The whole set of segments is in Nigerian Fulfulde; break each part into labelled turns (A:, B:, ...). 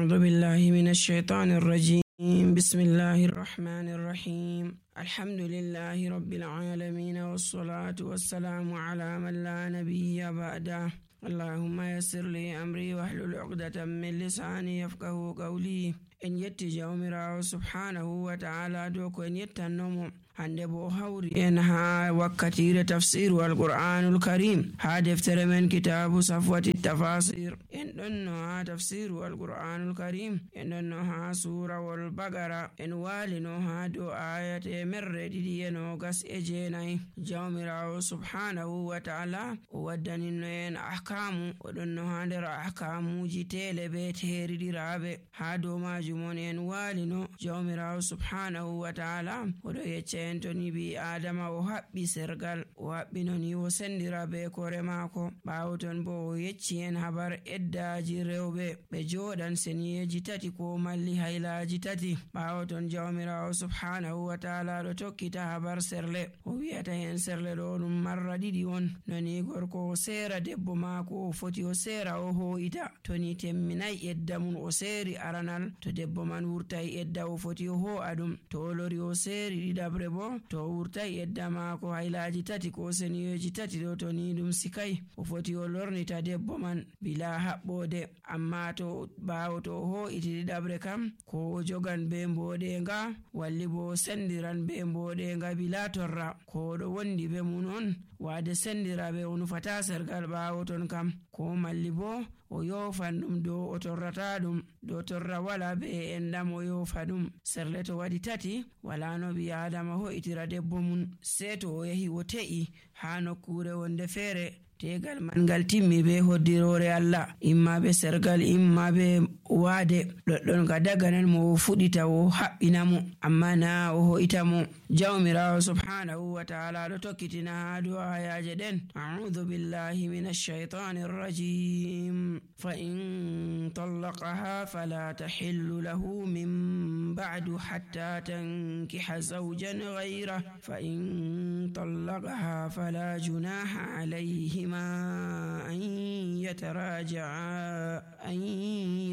A: أعوذ بالله من الشيطان الرجيم. بسم الله الرحمن الرحيم. الحمد لله رب العالمين، والصلاة والسلام على من لا نبي بعده. اللهم يسر لي أمري واحلل عقدة من لساني يفقه قولي. en yetti jawmirawo subhanahu wa ta'ala dow ko en yettannomo hande bo hawri en ha wakkatire tafsiru alqur'anul karim ha deftere men kitabu safwati tafasir. En ɗonno ha tafsiru alqur'anul karim, en ɗonno ha surawol bagara, en walino ha dow ayate merre ɗiɗi e nogas e jeenayi. jawmirawo subhanahu wa ta'ala o waddaninno en ahkamu, o ɗonno ha nder ahkamuji tele be teriɗiraɓe. ha dow majum mon en walino jawmirawo subhanahu wa ta'ala oɗo yecca en to ni bi adama o haɓɓi sergal, o haɓɓino ni o sendira be kore maako. ɓawo ton bo o yecci en habar eddaji rewɓe ɓe joɗan seniyeji tati ko malli haylaji tati. ɓawo ton jawmirawo subhanahu wa ta'ala ɗo tokkita habar serle, o wi'ata en serle ɗo ɗum marra ɗiɗi on. noni gorko o sera debbo maako o foti o sera o ho'ita, to ni temminai edda mun o seri aranal, to debbo man wurtai edda o foti o ho'a ɗum. to o lori o seri ɗiɗabre bo, to o wurtai edda maako haylaji tati ko seniyeji tati ɗo, to ni ɗum sikai o foti o lornita debbo man bila haɓɓode. amma to ɓawo to o ho'iti ɗiɗabre kam, ko o jogan be mboɗenga, walli bo o sendiran be mboɗenga bila torra, ko ɗo wondi be mun on wade sendira be o nufata sergal. ɓawo ton kam ko malli bo o yofan ɗum dow o torrata ɗum, dow torra wala be endam o yofa ɗum. serle to waɗi tati, wala no ɓi adama ho'itira debbo mun, sei to o yahi o te'i ha nokkure wonde feere tegal man ngal timmi be hoddirore Allah, imma be sergal imma be waade. ɗoɗɗon ka daganan mo o fuɗita o haɓɓina mo, amma na o ho'ita mo. jawmirawo subhanahu wa ta'ala ɗo tokkitina ha dow ayaje ɗen. a'udhu billahi minash shaitanir rajim. fa in tallaqaha fala tahillu lahu min ba'du hatta tankiha zawjan ghayra fa in tallaqaha fala junaha alayhima أن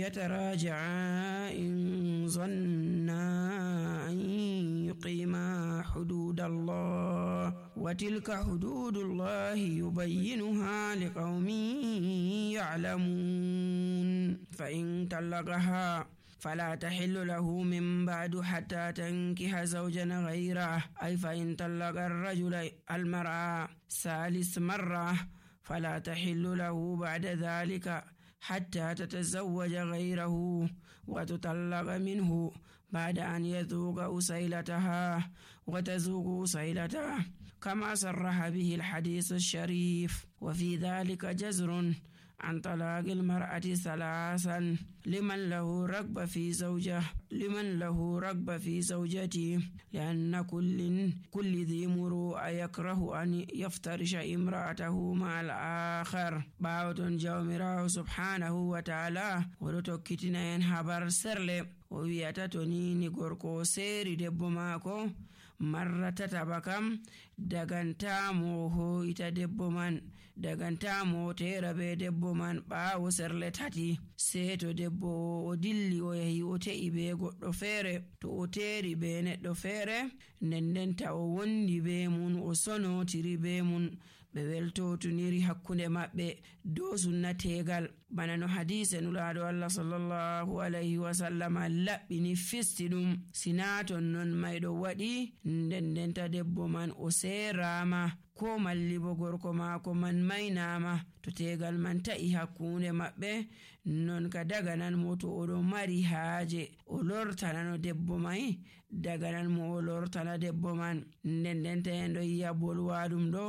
A: يتراجعا إن ظنا أن يقيما حدود الله، وتلك حدود الله يبينها لقوم يعلمون. فإن طلقها فلا تحل له من بعد حتى تنكح زوجا غيره، أي فإن طلق الرجل المرأة ثالث مرة فلا تحل له بعد ذلك حتى تتزوج غيره وتطلق منه بعد أن يذوق أسيلتها وتذوق أسيلته، كما صرح به الحديث الشريف. وفي ذلك جزر عن طلاق المرأة ثلاثا لمن له رغبة في زوجته، لأن كل ذي مروءة يكره أن يفترش امرأته مع الآخر. باوتون جawmirawo subhanahu wa ta'ala oɗo tokkitina en habar serle, o wi'ata to ni gorko seri debbo maako marra tataɓa kam, dagantamo ho'ita debbo man, dagantamo tera be debbo man ɓawo serle tati. sei to debbo o dilli o yahi o te'i be goɗɗo feere, to o teri be neɗɗo feere, ndendenta o wondi be mun, o sonotiri be mun, ɓe weltotuniri hakkunde maɓɓe dow sunna tegal. bana no hadise nulaɗo Allah sallallahu alayhi wa sallam laɓɓini fisti ɗum. sina ton non mayɗo waɗi, ndendenta debbo man o serama, ko malli bo gorko maako man maynama, to tegal man ta'i hakkunde maɓɓe, non ka daganan mo to oɗo mari haaje o lortanano debbo mai, daganan mo o lortana debbo man. ndendenta en ɗo yi'a bolwaɗum ɗo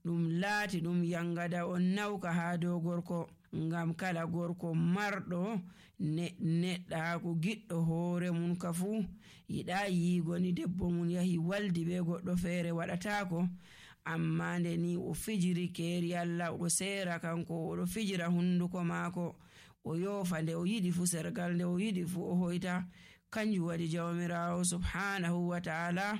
A: ɗum laati ɗum yangada on nawka ha dow gorko, ngam kala gorko marɗo neɗɗaku giɗɗo hoore mun ka fu yiɗa yigoni debbo mun yahi waldi be goɗɗo feere, waɗatako. amma nde ni o fijiri keeri Allah, o sera kanko, oɗo fijira hunduko maako, o yofa nde o yiɗi fu sergal, nde o yiɗi fu o hoyta, kanjum waɗi jawmirawo subhanahu wa ta'ala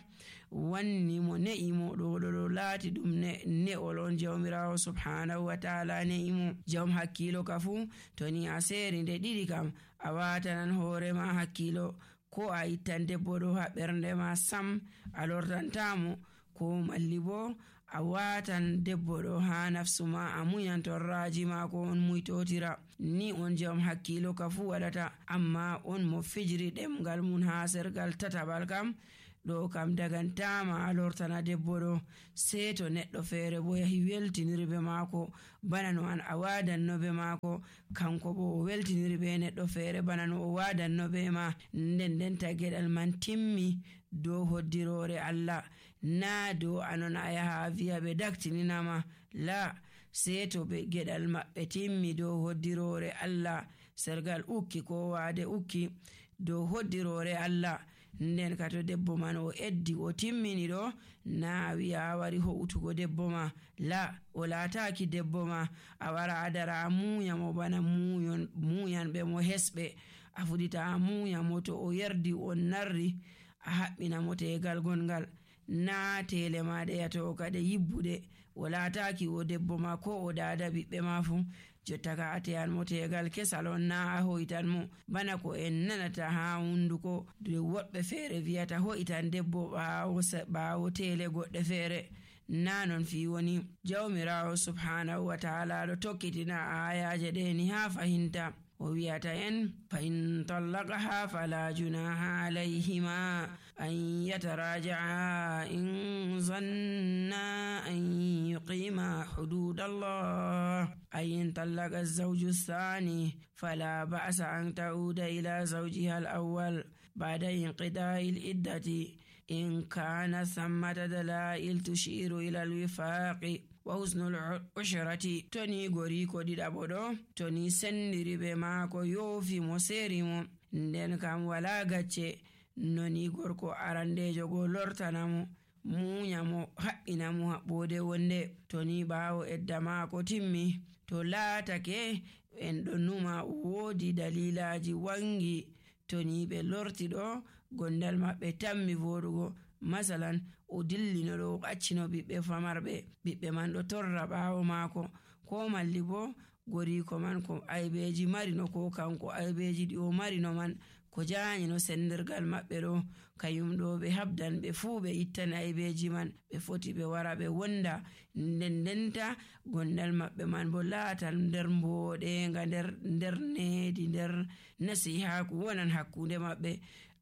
A: wanni mo ne'imo ɗo laati ɗum ne'ol on. jawmirawo subhanahu wa ta'ala ne'imo. jawm hakkilo ka fu to ni a seri nde ɗiɗi kam a watanan hoorema hakkilo, ko a ittan debbo ɗo ha ɓernde ma sam a lortantamo, ko malli bo a watan debbo ɗo ha nafsu ma a muyan torraji mako on muytotira. ni on jawm hakkilo ka fu waɗata. amma on mo fijiri ɗemgal mun ha sergal tataɓal kam ɗo kam dagantama a lortana debbo ɗo, sei to neɗɗo feere bo yahi weltiniri be maako bana no an a wadanno be maako, kanko bo o weltiniri be neɗɗo feere bana no o wadanno be ma. nden tageɗal man timmi dow hoddirore Allah, na dow anon a yaha wiya ɓe daktininama. la, sei to ɓe geɗal maɓɓe timmi dow hoddirore Allah, sergal ukki ko waade ukki dow hoddirore Allah. nden ka to debbo man o eddi o timmini ɗo, na wiya a wari ho'utugo debbo ma. la, o laataki debbo ma, a wara a dara a muya mo bana muyan ɓe mo hesɓe. a fuɗita a muya mo, to o yerdi on narri a haɓɓina mo tegal gongal, na tele maɗe yato kade yibbuɗe. o laataki o debbo ma ko o dada ɓiɓɓe ma fu, jotta ka a teyan mo tegal kesal on, na a hoitan mo bana ko en nanata ha hunduko woɓɓe feere wiyata hoitan debbo ɓawo tele goɗɗe feere. na non fi woni. jawmirawo subhanahu wa ta'ala ɗo tokkitina ayaje ɗe ni ha fahinta. o wiyata en fa in tallaqaha fala junaha alayhima an yataraja'a in zanna an yuqima hududallah. أي إن طلق الزوج الثاني فلا بأس أن تعود إلى زوجها الأول بعد انقضاء العدة إن كان ثمة دلائل تشير إلى الوفاق وحسن العشرة. توني غوري كودي دابودو توني سندري بماكو يوفي مسيريمو nden kam wala gacce noni gorko arandejo go lortanamo munyamo haɓɓinamo haɓɓode wonde. to ni ɓawo edda maako timmi, to laatake en ɗo numa woodi dalilaji wangi, to ni ɓe lorti ɗo gondal maɓɓe tammi voɗugo. masalan o dillino ɗo o ɓaccino ɓiɓɓe famarɓe, ɓiɓɓe man ɗo torra ɓawo maako, ko malli bo goriko man ko aybeji marino, ko kanko aybeji ɗi o marino man ko jaanyino sendirgal maɓɓe ɗo, kayum ɗo ɓe habdan ɓe fuu ɓe ittan aybeji man, ɓe foti ɓe wara ɓe wonda. ndenta gondal maɓɓe man bo laatan nder mboɗenga, nder needi, nder nasihaku wonan hakkunde maɓɓe.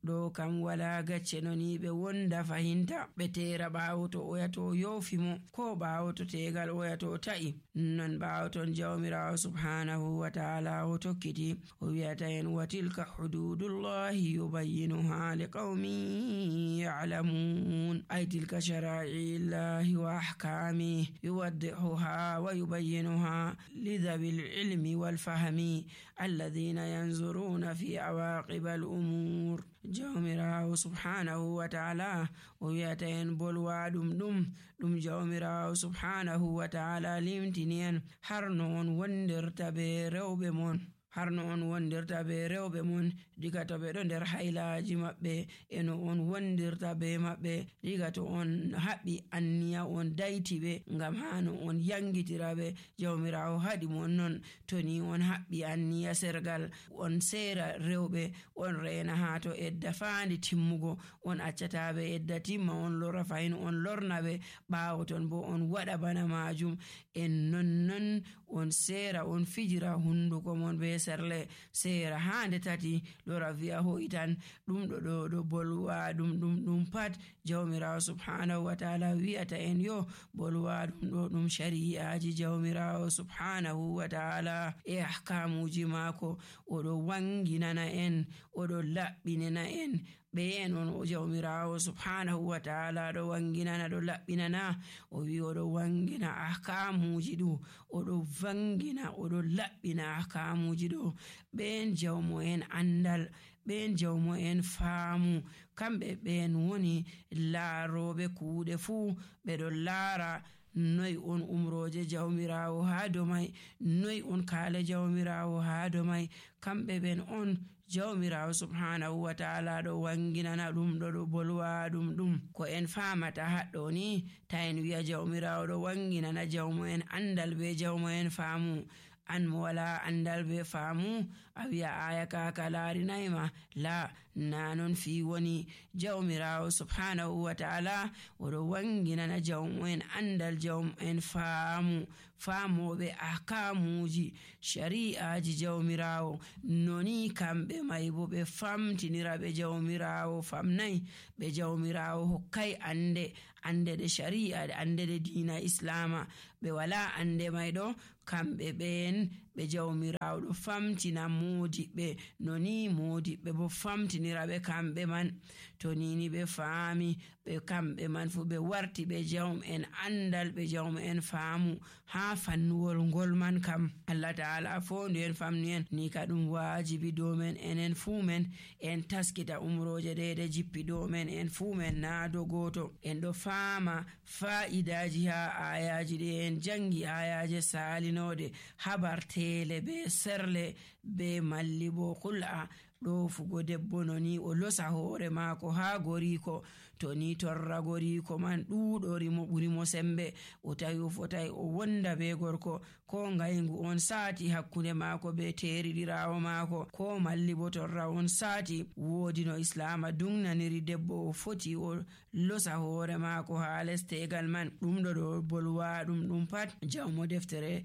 A: ɗo kam wala gacce noni ɓe wonda fahinta, ɓe tera ɓawo to oya to yofimo, ko ɓawo to tegal oya to ta'i. non ɓawo ton jawmirawo subhanahu wa ta'ala o tokkiti o wiyata en wa tilka hududullahi yubayyinuha liqaumin ya'lamun. ay tilka shara'illahi wa ahkami yuwaddihuha wa yubayyinuha lidhabil ilmi wal fahmi alladhina yanzuruna fi awaqibal umur. jawmirawo subhanahu wa ta'ala o wiyata en bolwa ɗum jawmirawo subhanahu wa ta'ala limtini en har no on wondirta be rewɓe mon, har no on wondirta be rewɓe mon diga to ɓe ɗo nder haylaji maɓɓe, e no on wondirta be maɓɓe diga to on haɓɓi anniya on dayti ɓe ngam ha no on yangitira ɓe. jawmirawo haɗi mon non, to ni on haɓɓi anniya sergal on sera rewɓe, on reena ha to edda faandi timmugo, on accata ɓe edda timma, on lora fayin on lorna ɓe, ɓawo ton bo on waɗa bana majum. en non on sera on fijira hunduko mon be serle sera hande tati lora viya hoitan ɗum ɗo bolwa ɗum pat jawmirawo subhanahu wa ta'ala wiyata en yo bolwa ɗum shari'aji jawmirawo subhanahu wa ta'ala e ahkamuji mako. oɗo wanginana en, oɗo laɓɓinana en ɓe non o jawmirawo subhanahu wa ta'ala ɗo wanginana ɗo laɓɓinana. o wi oɗo wangina ahkamuji ɗo, oɗo vangina oɗo laɓɓina ahkamuji ɗo. ɓen jawmo en andal, ɓen jawmo en faamu, kamɓe ɓen woni laaroɓe kuuɗe fuu, ɓeɗo laara noy on umroje jawmirawo ha dow mai, noy on kala jawmirawo ha dow mai. Kamɓe ben on jawmirawo subhanahu wa ta'ala ɗo wanginana ɗum, ɗo bolwa ɗum ko en famata haɗɗo ni. Ta en wi'a jawmirawo ɗo wanginana jawmo en andal be jawmo en faamu. An mo wala andal be faamu a wi'a aya kaka laarinayma, la na non fi woni. Jawmirawo subhanahu wa ta'ala oɗo wanginana jawmo en andal, jawmo en faamu, faamoɓe ahkamuji shari'aji jawmirawo. Noni kamɓe mai bo ɓe famtinira ɓe jawmirawo famnai, ɓe jawmirawo hokkai ande de shari'a, ande de dina islama. Ɓe wala ande mai ɗo kamɓe ɓen ɓe jawmirawo ɗo famtina modiɓɓe, noni modiɓɓe bo famtinira ɓe kamɓe man. To nini ɓe faami ɓe kamɓe man fu ɓe warti ɓe jawm en andal, ɓe jawm en faamu ha fannuwol ngol man kam. Allah ta'ala fondu en famnu en ni ka ɗum wajibi dow men enen fu men en taskita umroje ɗe jippi dow men en fu men na do goto. En ɗo faama fa'idaji ha ayaji ɗe en jangi, ayaje salinode habar tele be serle be malli bo kul'a ɗo fugo debbo noni o losa hoore maako ha goriko. To ni torra goriko man ɗuɗori mo ɓuri mo sembe, o tawi o fotai o wonda be gorko, ko ngayngu on saati hakkunde maako be teriɗirawo maako, ko malli bo torra on saati. Woodi no islama dungnaniri debbo o foti o losa hoore maako ha les tegal man. ɗum ɗo bolwa ɗum pat jawmo deftere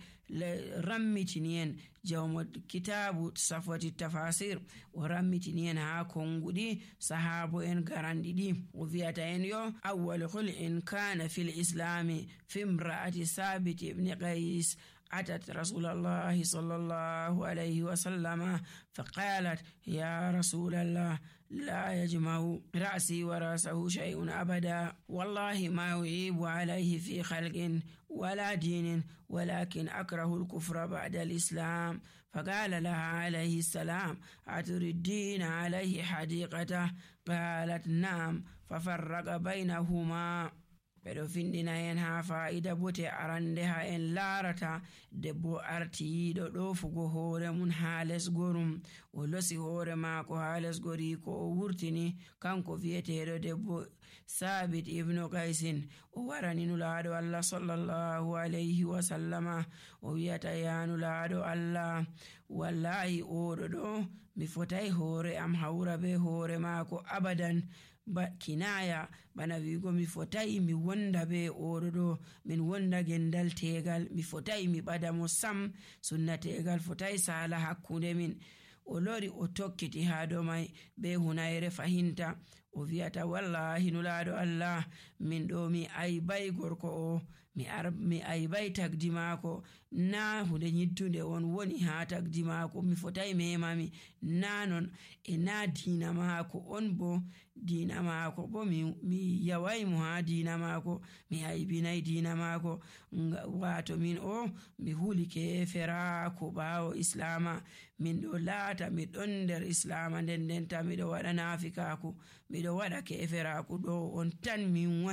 A: rammitini en, jawmo kitabu safwati tafasir o rammitini en ha konguɗi sahabo en garanɗi ɗi. O wi'ata en yo awwal khul'in kana fil islami fi imra'ati sabit ibn qais أتت رسول الله صلى الله عليه وسلم فقالت يا رسول الله لا يجمع رأسي ورأسه شيء أبدا، والله ما أعيب عليه في خلق ولا دين، ولكن أكره الكفر بعد الإسلام. فقال لها عليه السلام أتردين عليه حديقته؟ قالت نعم، ففرق بينهما. ɓeɗo findina en ha fa'ida bote arande ha en larata debbo artiyiɗo ɗofugo hoore mun ha les gorum, o losi hoore maako ha les gori ko o wurtini kanko viyeteɗo debbo sabit ibnu qaisin. O warani nulaɗo Allah sallallahu alayhi wa sallama, o wiyata ya nulaɗo Allah, wallahi oɗo ɗo mi fotai hoore am hawra be hoore maako abadan. Kinaya bana wigo mi fotai mi wonda be oɗo ɗo, min wonda gendal tegal, mi fotai mi ɓada mo sam, sunna tegal fotai sala hakkunde min. O lori o tokkiti ha dow mai be hunayre fahinta, o wiyata wallahi nulaɗo Allah, min ɗo mi aybai gorko o, mi aybai tagdi maako, na hunde nyiddude on woni ha tagdi maako, mi fotai memami na non, e na dina maako on bo, dina maako bo mi yawai mo ha dina maako, mi aybinai dina maako. Wato min o mi hulike ferako ɓawo islama, min ɗo laata mi ɗon nder islama ndendenta miɗo waɗa nafikaku, miɗo waɗa keferaku ɗo on tan min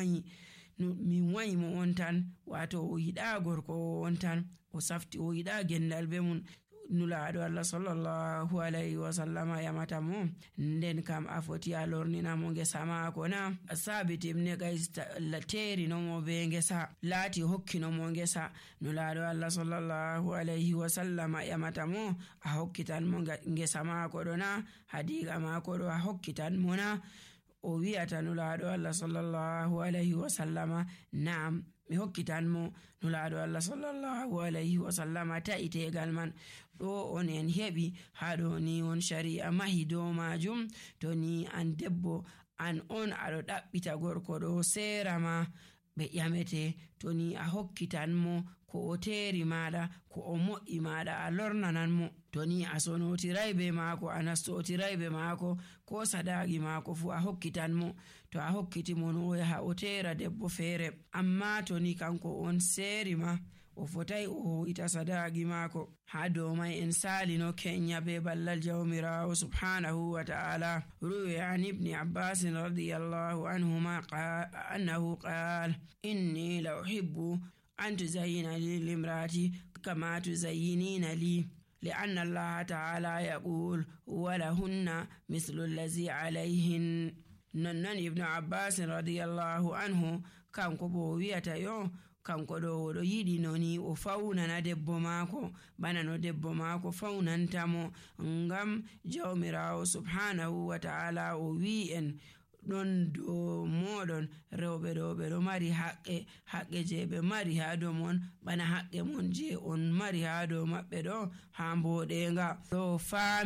A: wayi mo on tan. Wato o yiɗa gorko on tan, o safti o yiɗa gendal be mun. Nulaɗo Allah sallallahu alayhi wa sallama yamata mo nden kam a foti a lornina mo ngesa maako na? Sabit ibn qais teri no mo be ngesa, laati hokkino mo ngesa. Nulaɗo Allah sallallahu alayhi wa sallama yamata mo a hokkitan mo ngesa maako ɗo na? Hadiga maako ɗo a hokkitan mo na? O wiyata nulaɗo Allah sallallahu alayhi wa sallama naam, mi hokkitan mo. Nulaɗo Allah sallallahu alayhi wa sallama ta'i tegal man. Ɗo on en heɓi haɗo ni on shari'a mahi dow majum. To ni an debbo an on aɗo ɗaɓɓita gorko ɗo sera ma ɓe ƴamete, to ni a hokkitan mo ko o teri maɗa, ko o moƴƴi maɗa, a lornanan mo. To ni a sonotirai be maako, a nastotirai be maako, ko sadaki maako fu a hokkitan mo. To a hokkiti mo no o yaha o tera debbo feere, amma to ni kanko on seri ma, o fotai o ita sadaki maako. Ha dow mai en salino kenya be ballal jawmirawo subhanahu wa ta'ala. Ruwi an ibni Abbas radiyallahu anhuma annahu qala inni la uhibbu أن تزين لي لامرأتي كما تزينين لي، لأن الله تعالى يقول ولهن مثل الذي عليهن. ننن ابن عباس رضي الله عنه kanko bo wi'ata yo kanko ɗo oɗo yiɗi noni o fawnana debbo maako bana no debbo maako fawnantamo, ngam jawmirawo subhanahu wa ta'ala o wi en ɗon dow moɗon rewɓe ɗo ɓe ɗo mari haqqe je ɓe mari ha dow mon bana haqqe mon je on mari ha dow maɓɓe ɗo ha mboɗenga ɗo